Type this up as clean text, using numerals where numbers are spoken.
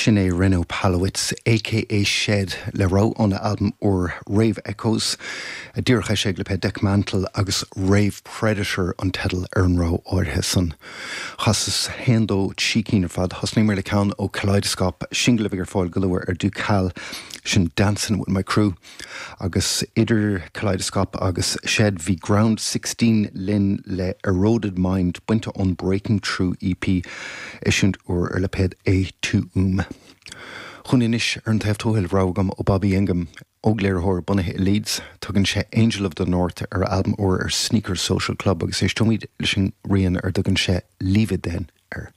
Sin é Reno Palowitz, aka Shed, le rogha óna albam úr Rave Echoes, díreach eisithe ag lipéad Dekmantel agus Rave Predator an teideal ar an rogha áirithe san. Chasas haon, dó, trí cinn ar fad. Thosnaíomar le ceann ó Kaleidoscop, singil a bheidh ar fáil go luath ar Ducal, sin Dancin' With My Crew. Agus idir Kaleidoscop agus Shed bhí Ground 16 linn le Eroded Mind bainte ón Breaking Through EP, eisiúint úr ar lipéad A2um. Chugainn anois ar an taobh tuathail, rogha agam ó Bobby Ingham, ógléiritheoir bunaithe i Leeds. Tugann sé Angel of the North ar a albam úr ar Sneaker Social Club agus éisteoimid leis an rian ar dtugann sé Leave It Then air.